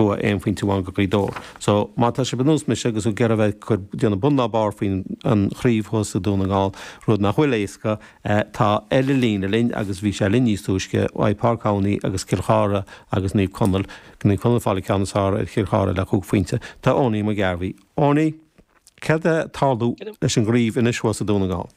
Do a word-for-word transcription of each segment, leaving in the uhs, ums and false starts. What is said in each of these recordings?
Bua aon phointe amháin go Gaoth Dobhair. So má tá sibh ar nós mise agus ag iarraidh a bheith ag déanamh bun ná barr faoin an chraobh thuas i Dún na nGall, rud nach bhfuil éasca, tá ar an líne linn agus bhí sé linn níos túisce, uaidh Páirc Adhamhnáin agus Cill Chartha agus Naomh Conaill, Naomh Conaill ag fáil an ceann is fearr ar Chill Chartha le cúig phointe. Tá Owenie McGarvey. Owenie, céard atá ag tarlú leis an gcraobh anois thuas i Dún na nGall?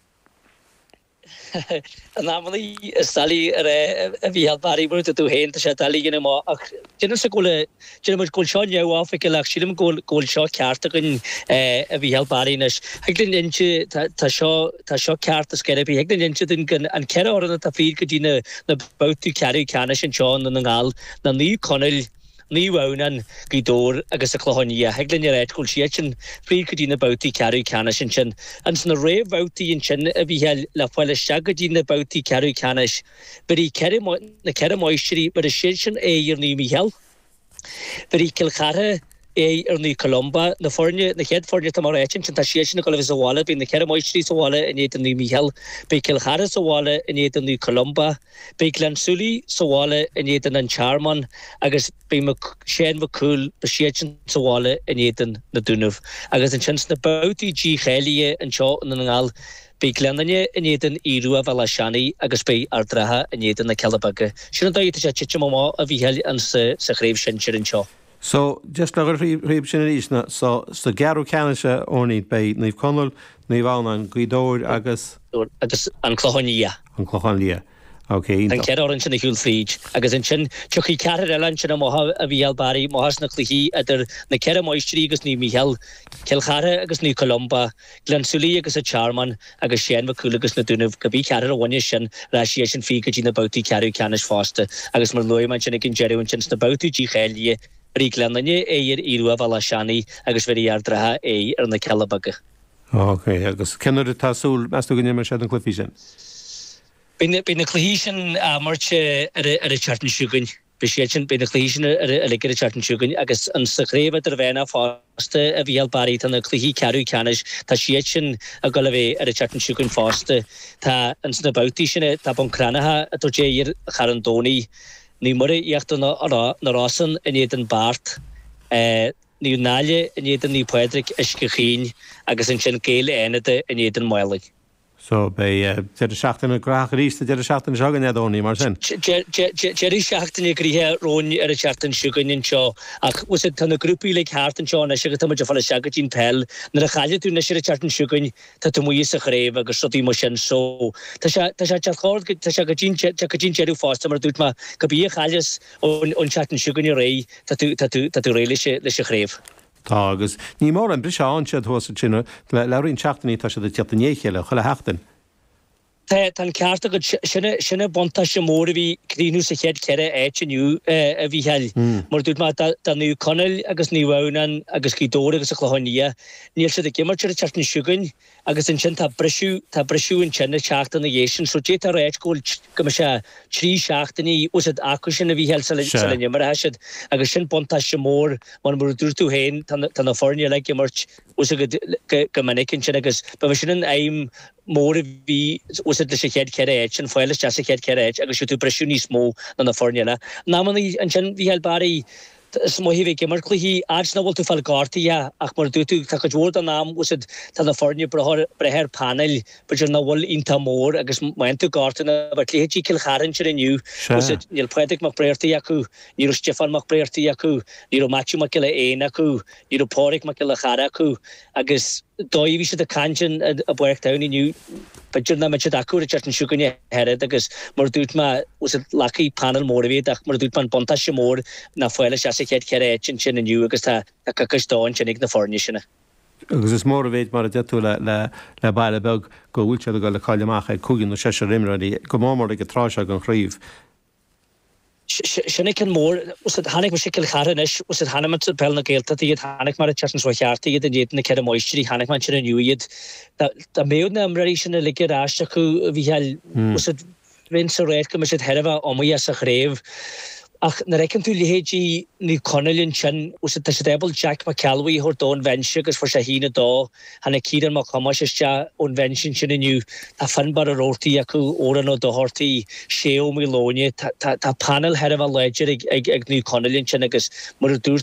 In amannaí is doiligh a rá a Mhícheáil Barry mar tú féin tá sé doiligh a dhéanamh amach ach déanaimse go bhfuil déanaim go bhfuil seo neamhoifigiúil ach sílim go bhfuil go bhfuil seo ceart againn a Mhícheáil Barry anois. Thig linn inse tá seo tá seo ceart is ceithre thig linn inse dúinn go an ceithre fhoireann atá fríd go dtí na na babhtaí ceathrú ceannais anseo i nDún na nGall ná Naomh Conaill Naomh Adhamhnáin, Gaoth Dobhair agus an Clochán Liath. Thig linn a ráit go bhfuil siad sin fríd go dtí na babhtaí ceathrú ceannais ansin. Ins na réamhbhabhtaí ansin a Mhícheáil le fáil isteach go dtí na babhtaí ceathrú ceannais, bheir ceithre na ceithre máistrí, bheir siad sin aghaidh ar Naomh Mícheál, bheir Cill Chartha aghaidh ar Naomh Columba, na foirne, na chéad foirne atá mar ráite ansin, tá siad sin ag dul a bheith sa bhaile, beidh na ceithre máistrí sa bhaile in éadan Naomh Mícheál, beidh Cill Chartha sa bhaile in éadan Naomh Columba, beidh Gleann tSúilí sa bhaile in éadan an Tearmann agus beidh Séan Mac Cumhaill, beidh siadsan sa bhaile in éadan na Dúnaibh. Agus ansin sna babhtaí dícháilithe anseo i nDún na nGall, beidh Gleann Fhinne in éadan Aodh Rua Bhéal Átha Seanaidh agus beidh Ard an Rátha in éadan na Cealla Beaga. Sin an dóigh atá sé ag titim amach a Mhícheáil sa chraobh shinsir anseo. So, just le tríob sin arís na so sa gceathrú ceannais a Owenie beidh Naomh Conaill, Naomh Adhamhnáin, Gaoth Dobhair agus. Agus an Clochán Liath. An Clochán Liath. Ok, An ceithre fhoireann sin a shiúil fríd agus ansin tiocfaidh ceathrar eile ansin amach a Mhícheáil Barry amach as na cluichí idir na ceithre máistrí agus Naomh Mícheál, Cill Chartha agus Naomh Columba, Gleann tSúilí agus an Tearmann agus Séan Mac Cumhaill agus na Dúnaibh. Cibé ceathrar a bhainfeas sin, rachaidh siad sin fríd go dtí na babhtaí ceathrú ceannais fosta agus mar a luaigh mé ansin ag an deireadh ansin sna babhtaí dícháilithe, bheir Gleann Fhinne aghaidh ar Aodh Rua Bhéal Átha Seanaidh agus bheir Ard an Rátha aghaidh ar na Cealla Beaga. Ok, agus cén uair atá súil, meas tú go n-imreoidh siad an cluichí sin? Beidh na cluichí sin á n-imirt ar an tseachtain seo chugainn. Beidh siad sin, beidh na cluichí sin uilig ar an tseachtain seo chugainn agus an sa chraobh idirmheánach fosta a Mhícheáil Barry, tá na cluichí ceathrú ceannais, tá siad sin ag dul a bheith ar an tseachtain seo chugainn fosta. Tá ins na babhtaí sin, tá Bun Cranncha ag tabhairt aghaidh ar Charn Domhnaigh, Naomh Muire Íochtar na Rosann in éadan Beart, Naomh Náille in éadan Naomh Pádraig Uisce Chaoin agus ansin Gaeil Fhánada in éadan Málainn. So beidh deireadh seachtaine gnóthach arís sa deireadh seachtaine seo chugainn, a Owenie, mar sin. Deireadh seachtaine gnoitheach romhainn ar an tseachtain seo chugainn anseo ach bhfuil tá na grúpaí uilig thart anseo anois agus tá muid ag fáil isteach go dtí an peil. Nuair a chailleann tú anois ar an tseachtain seo chugainn tá tú amuigh as an chraobh agus rudaí mar sin so tá sé tá sé tá sé go dtí go dtí an deireadh fosta mar a dúirt mé cibé a chailleas ón tseachtain seo chugainn ar aghaidh tá tú tá tú tá tú réidh leis leis an chraobh. Tá agus ní mór an briseadh ann siad thuas ansin le le roinnt seachtainí tá siad ag tíocht i ndiaidh a chéile chuile sheachtain. Tá tá an ceart agat sin sin an buntáiste mór a bhí críochnú sa chéad cheithre áit inniu a Mhícheáil. Mar a dúirt mé do Naomh Conaill agus Naomh Adhamhnáin agus Gaoth Dobhair agus an Clochán Liath níl siad ag imirt ar an tseachtain seo chugainn agus ansin tá briseadh tá briseadh ansin ag teacht ina dhiaidh sin so d'fhéadfá a ráit go bhfuil go mbeidh sé trí seachtainí bhfuil siad acu sin a Mhícheáil sula sula n-imreoidh siad agus sin buntáiste mór mar mar a dúirt tú féin tá na tá na foirne uilig ag imirt bhfuil siad go go minic ansin agus ba sin an aidhm mór a bhí bhfuil siad leis an chéad cheithre áit sin fáil isteach sa chéad cheithre áit agus siúd tú briseadh níos mó ná na foirne eile. In amannaí ansin Mhícheáil Barry is maith a bheith ag imirt cluichí fhad nach bhfuil tú ag fáil gortaithe ach mar a dúirt tú tá cuid mhór den am bhfuil siad tá na foirne breith breith ar panel b'fhéidir nach bhfuil iontach mór agus má fhaigheann tú gortú ná bheadh leithéidí Cill Chartha ansin inniu bhfuil siad níl Pádraig Mac Bréartaigh acu ní raibh Stiofán Mac Bréartaigh acu ní raibh Matthew Mac Giolla Éin acu ní raibh Pádraig Mac Giolla Chara acu agus dóigh bhí siad ag caint in i bPáirc Domhain inniu b'fhéidir nach mbeidh siad acu ar an tseachtain seo chugainn ach oiread agus mar a dúirt mé bhfuil siad lagtha panel mór a bhí ach mar a dúirt mé an buntáiste mór ná fáil isteach sa chéad cheithre áit ansin inniu agus tá tá coicís dó ansin ag na foirne sin. Agus is mór an mhéid mar a deir tú le le le baile beag go bhfuil siad ag dul ag cailleadh amach ag cúigear nó seisear imreoirí go mór mór ag an tráth seo den chraobh. Sin é ceann mór. Chonaic mise Cill Chartha anois, chonaic mé Peil na Gaeltachta iad, chonaic mé an tseachtain seo thart iad in éadan na Ceithre Máistrí, chonaic mé ansin inniu iad. Dá mbeadh na imreoirí sin uilig ar ais acu, a Mhícheáil, bheinn sa ráit go mbeadh siad thar a bheith iomaíoch sa chraobh. Ach nuair a fheiceann tú leithéidí Naomh Conaill ansin, tá siad ábalta Jack McElwee a thabhairt ón bhinse agus fuair sé a haon a dó. Tháinig Ciarán Mac Thomáis isteach ón bhinse ansin inniu. Tá Fionnbarr Ó Roarty acu, Odhrán Ó Dochartaigh, Shay Ó Maoileoine. Tá panel thar a bheith láidir ag ag Naomh Conaill ansin agus mar a dúirt